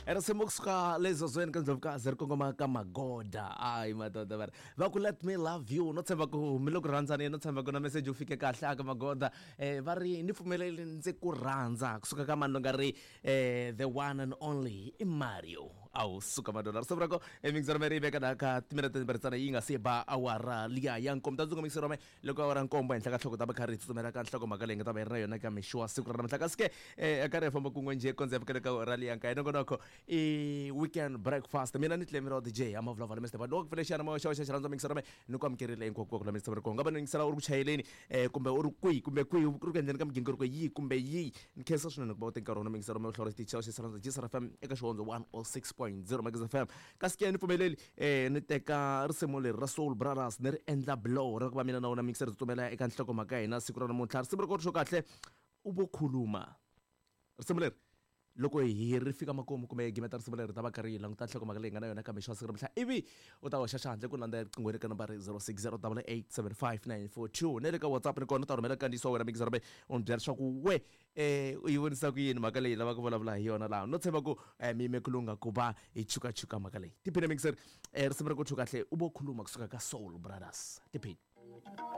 Risimu kusuka le zozweni ka Ndlovukazi ri kongoma ka Magoda. Ayi madoda va ri va ku let me love you, no tshemba ku mi le ku rhandzani, no tshemba ku na message wu fike kahle aka Magoda. Va ri ni pfumeleli ndzi ku rhandza kusuka ka mani lo nga ri the one and only i Mario. Awu suka madoda, risimu ra ko emixero me ri veka la ka timinete timbirhi ntsena yi nga se ba awara liya ya nkombo. Ta ndzi mixero me loko awara nkombo henhla ka nhloko ta va kha ri tsutsumela ka nhlokomhaka leyi nga ta va yi ri na yona ka mixo wa siku ra namuntlha. Kasi ke karhi hi famba kun'we njhe kondza hi fikela ka awara liya nkaye. Nongonoko i weekend breakfast, mina ni Clemiro DJ amavulavula Mr. Bad loko pfule xana moya xa xa xirhandza mixero me ni ku amukerile hinkwako la mixero ko nga va ni yingisela u ri ku chayeleni kumbe u ri kwihi kumbe kwihi u ri ku endleni ka migingiriko yihi kumbe yihi. Ni khensa swinene ku va u teka nkarhi wa mixero me u hlawula xitichi xa xirhandza GCR FM eka xihondzo 106.0 Magezi FM. Kasi ke ni pfumeleli ni teka risimu leri ra Soul Brothers ni ri endla blow ra ku va mina na wena mixer tsutsumela eka nhlokomhaka ya hina siku ra namuntlha. Risimu ri ko kahle u vo khuluma. Risimu leri loko hi ri fika makumu kumbe hi gimeta risimu leri ta va karhi hi languta nhlokomhaka leyi nga na yona ka mixo wa siku ra namuntlha, ivi u ta hoxa xandla ku landza riqingho eka nambara 0608875942 na le ka WhatsApp ni kona u ta rhumela nkandziyiso wa wena mixer u ni byela leswaku we u yi vonisa ku yini mhaka leyi lavaka ku vulavula hi yona laha. No tshemba ku mi yime ku lungha ku va hi chukachuka mhaka leyi. Tiphine mixer risimu ra ku chu kahle u vo khuluma kusuka ka Soul Brothers. Tiphine.